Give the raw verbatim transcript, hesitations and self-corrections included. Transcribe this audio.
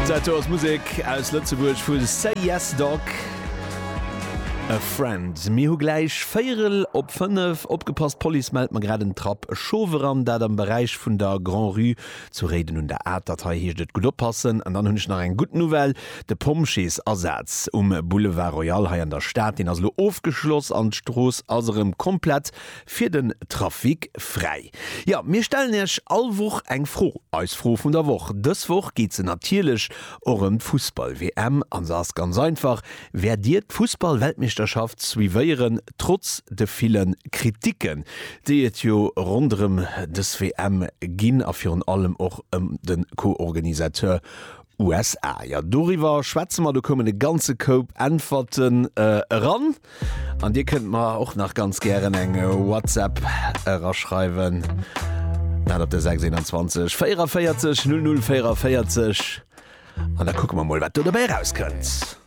Dat do ass Musek aus Lëtzebuerg vu Say Yes Dog. A Friend. Mir hu gläich véierel op fënnef. Opgepasst, D'Police mellt mer grad en Trapp Schof eran, dat am Beräich vun der Grand-Rue zu Réiden un der Atert. Hei heescht et gutt oppassen. An dann hunn ech nach eng gutt Nouvelle, De Pompjeesasaz um Boulevard Royal hei an der Stad, deen ass elo ofgeschloss an d'Strooss ass erëm komplett fir den Trafic fräi. Jo, mir stellen Iech all Woch eng Fro, eis Fro vun der Woch. Dës Woch geet se natierlech och ëm d'Fussball-WM an se ass ganz einfach, Wäert Dir d'Fussball-Weltmeeschterschaft suivéieren, trotz de ville Kriticken, déi et jo ronderëm dës WM ginn a virun allem och ëm de Co-Organisateur USA? Jo, doriwwer schwätze mer. Do koumen e ganze Koup Äntwerten eran an Dir kënnt mer och nach ganz gären eng WhatsApp eraschreiwen, dat op de sechs einundzwanzeg véierundzwanzeg null null véierundvéierzeg an da kucke mer mol, wat do dobäi erauskënnt.